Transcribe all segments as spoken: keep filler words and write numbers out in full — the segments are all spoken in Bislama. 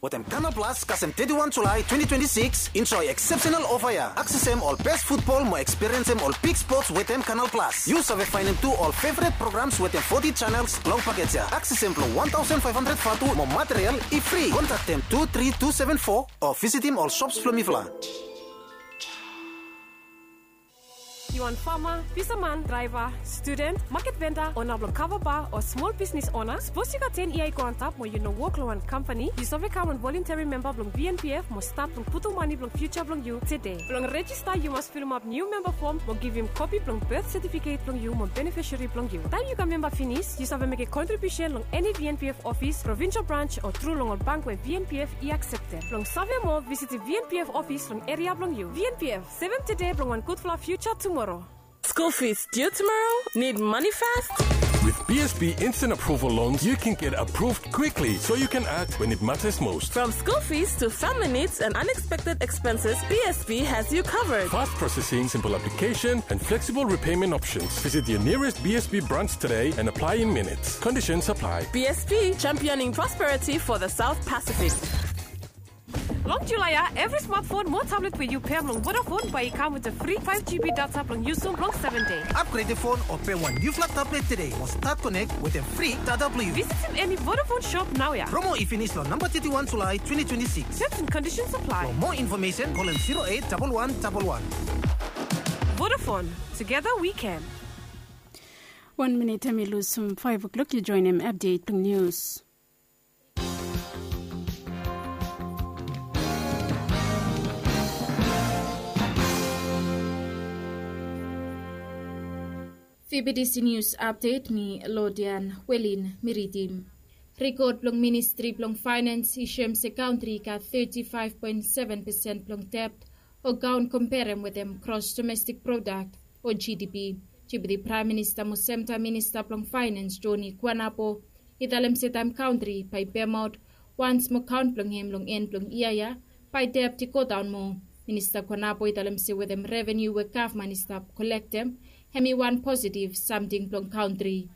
Wetem Canal Plus kasem teti wan Julae twenti twenti sikis, enjoe eksepsenal ofa ya. Aksesem ol bes futbol mo ekspiriensem ol big spots wetem Canal Plus. Yu save faenem tu ol feveret programs wetem foti janels long pakej ya. Aksesem blong wan taosen faef handred vatu mo material i fri. Kontaktem tu tri tu seven fo o visitim ol shops blong mifala. Yu wan fama, fisaman, draeva, studen, maket venda, ona blong kava ba o smol bisnis ona? Sapos yu gat ten yia i go antap mo yu no wok long wan kampani, yu save kam wan volunterim memba blong V N P F mo stat blong putum mane blong fiuja blong yu tede. Blong rejista yu mas filimap niu memba fom mo givim kopi blong bet setifiket blong yu mo benefisari blong yu. Taem yu kam memba finis, yu save mekem kontribiusen long eni V N P F ofis, provinsel brans o tru long ol bank we V N P F i akseptem. Blong save moa, visitim V N P F ofis long eria blong yu. V N P F, sevem tede blong wan gudfala fiuja tumoro. School fees due tomorrow? Need money fast? With B S B Instant Approval Loans, you can get approved quickly so you can act when it matters most. From school fees to family needs and unexpected expenses, B S B has you covered. Fast processing, simple application, and flexible repayment options. Visit your nearest B S B branch today and apply in minutes. Conditions apply. B S B, championing prosperity for the South Pacific. Long Julae ya, evri smatfon mo tablet we yu pem long Vodafone bae i kam wetem fri faef G B data blong yusum long seven dei. Apgredem fon o pem wan niufala tablet tede mo stat konek wetem fri data blong yu. Visitim eni Vodafone shop naoia. Promo i finis long namba teti wan Julae twenti twenti sikis. Terms and conditions apply. For more information, call zero eight double one double one. Vodafone, together we can. Wan minit hemi lus long faef o'klok, yu joenem apdet blong nius. Fibidisi nius apdet, mi Lodian Welin mi ridim. Rikod blong Ministri blong Faenens i soem se kantri i gat teti faef poen seven pesen blong debt o kaon komperem wetem gros domestik prodak o G D P. Deputi Praem Minista mo semtaem Minista blong Faenens Joni Kuanapo i talem se taem kantri bae i pemaot wans mo kaon blong hem long en blong yia ya, bae debt i godaon moa. Minista Kuanapo i talem se wetem revenu we gavman i stap kolektem, hemi wan positiv samting blong kantri.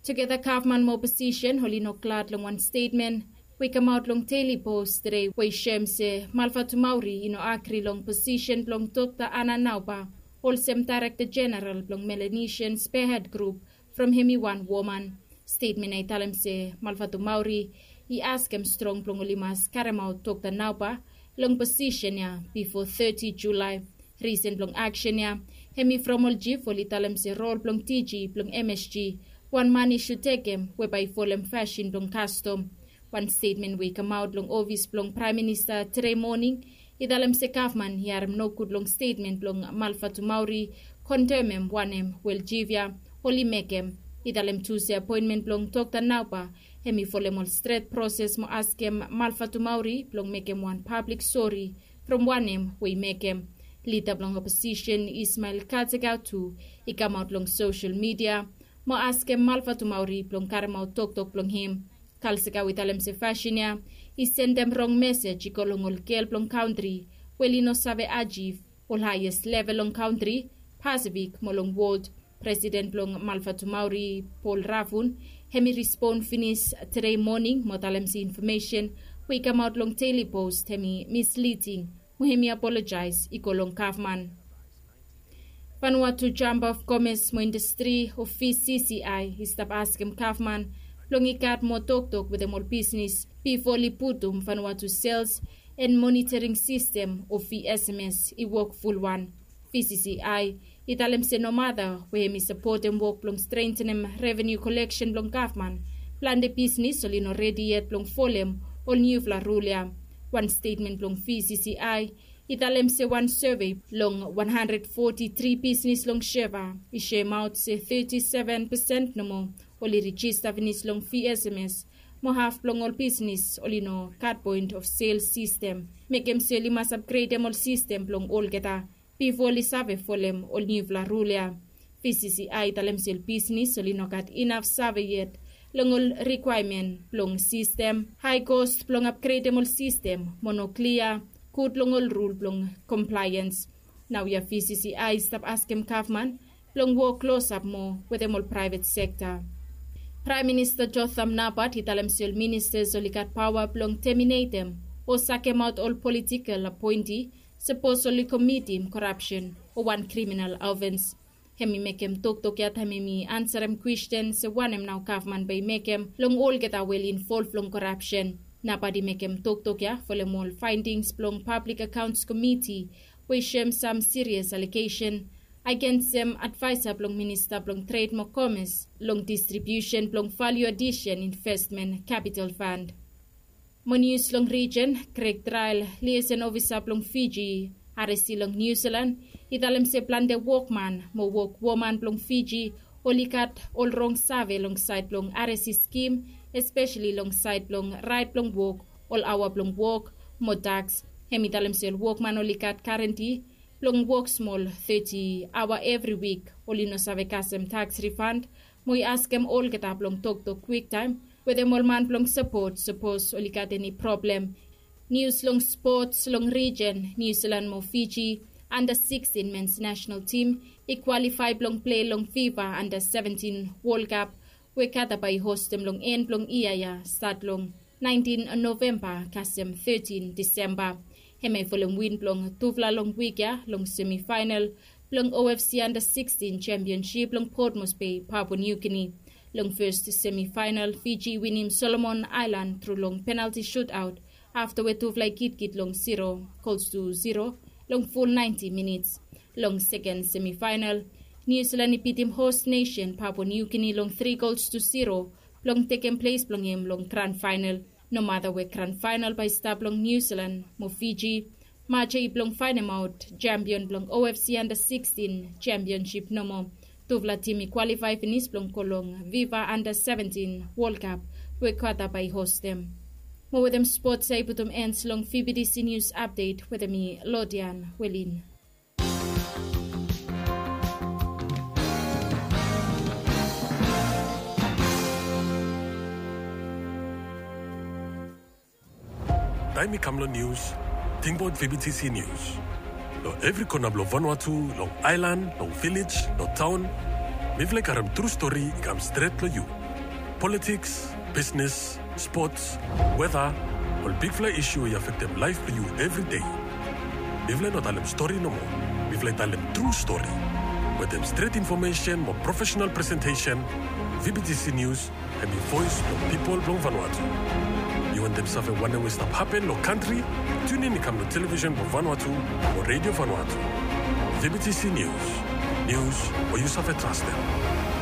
Tugeta gavman mo oposisen oli no glad long wan stetmen we i kamaot long Daily Post tede we i soem se Malvatumauri i no agri long posisen blong Dokta Ana Nauba olsem Daerekta Jeneral blong Melanesian Spearhead Grup from hemi wan woman. Stetmen ya i talem se Malvatumauri i askem strong blong oli mas karemaot Dokta Nauba long posisen ya bifo teti Julae. Risen blong aksen ya hemi from ol jif oli talem se rol blong D G blong M S G wan man i sud tekem we bae i folem fasin blong kastom. Wan stetmen we i kamaot long ofis blong Praem Minista tede moning i talem se gavman i harem nogud long stetmen blong Malvatumauri kondemem wanem we ol jif ya oli mekem. I talem tu se apoenmen blong Dokta Nauba hemi folem ol stret proses mo askem Malvatumauri blong mekem wan pablik sori from wanem we i mekem. Lida blong oposisen Ismael Katsegau tu i kamaot long sosel midia mo askem Malvatumauri blong karemaot toktok blong hem. Kalsegau i talem se fasin ya i sendem rong mesej i go long ol gel blong kantri we oli no save ajiv ol haeses level long kantri, Pasifik mo long wol. Presiden blong Malvatumauri, Pol Ravun, hemi respon finis tede moning mo talem se infomesen we i kamaot long Daily Post hemi misliding mo hemi apolojaes i go long gavman. Vanuatu Chamber of Commerce mo Industri o V C C I i stap askem gavman blong i gat moa toktok wetem ol bisnis bifo oli putum Vanuatu Sales and Monitoring System o V S M S i wok fulwan. V C C I i talem se nomata we hemi sapotem wok blong strentenem revenu koleksen blong gavman, plante bisnis oli no redi yet blong folem ol niufala rul ya. Wan stetmen blong V C C I i talem se wan sove long wan handred foti tri bisnis long Suva i soemaot se teti seven pesen nomo oli rejista finis long V S M S, mo haf blong ol bisnis oli no gat point of sales sistem. Mekem se oli mas apgredem ol sistem blong olgeta bifo oli save folem ol niufala rul ya. V C C I i talem se ol bisnis oli no gat inaf save yet long ol rikwaemen blong sistem, hae kos blong apgredem ol sistem mo no klia gud long ol rul blong komplaeans. Naoia V C C I i stap askem gavman blong wok klosap moa wetem ol praevet sekta. Praem Minista Jotham Napat i talem se ol ministas oli gat paoa blong teminetem o sakemaot ol politikel apoenti sapos oli komitim korapsen o wan kriminal ofens. Hem i mekem toktok ya taem hem i ansarem kwesten se wanem nao gavman bae i mekem long olgeta we oli involv long korapsen. Napat i mekem toktok ya folem ol faendings blong Pablik Akaons Komiti we i soem sam sirias alegesen agensem advaesa blong minista blong tred mo komes long distribiusen blong valiu adisen investmen kapital fand. Mo nius long rijen, Greg Trael, liesen ofisa blong Fiji, aresi long Niu Silan, i talem se plante wokman mo wokwoman blong Fiji oli gat ol rong save long saed blong aresi skim, espeseli long saed blong raet blong wok, ol aoa blong wok mo taks. Hem i talem se ol wokman oli gat garenti blong wok smol teti aoa evri wik, oli no save kasem taks rifand, mo i askem olgeta blong toktok kwiktaem wetem ol man blong sapot sapos oli gat eni problem. Nius long spots long rijen, Niu Silan mo Fiji anda sikstin mens nasenal tim i kwalifae blong plei long fifa anda seventin Wol Kap we Kata bae i hostem long en blong yia ya stat long naentin Novemba kasem tetin Disemba. Hem i folem win blong tufala long wik ya long semifaenal blong O F C anda sikstin sempionsip long Port Moresby, Papua New Guinea. Long fes semifaenal, Fiji i winim Solomon Aelan tru long penalti sutaot afta we tufala i kitkit long zero gols tu zero long ful naenti minits. Long seken semifaenal, Niu Silan i bitim hos nesen Papua New Guinea long tri gols tu zero blong tekem ples blong hem long gran faenal. Nomata we gran faenal bae i stap long Niu Silan mo Fiji, maje i blong faenemaot sempion blong O F C anda sikstin sempionsip nomo. Tufala tim i kwalifae finis blong go long fifa anda seventin Wol Kap we Kata bae i hostem. Mo wetem spots ya i putum en long V B T C Nius Apdet wetem mi, Lodian Welin. Taem i kam long nius, tingbaot V B T C Nius. Long evri kona blong Vanuatu, long aelan, long vilej, long taon, mifala i karem tru stori i kam stret long yu. Politiks, bisnes, spots, weta, ol bigfala isu we i afektem laef blong yu evri dei. Mifala i no talem stori nomo. Mifala i talem tru stori. Wetem stret infomesen mo profesenal presentesen, V B T C Nius hem i voes blong pipol blong Vanuatu. Yu wantem save wanem we i stap hapen long kantri? Tiunin i kam long televisen blong Vanuatu o redio Vanuatu. V B T C Nius. Nius we yu save trastem.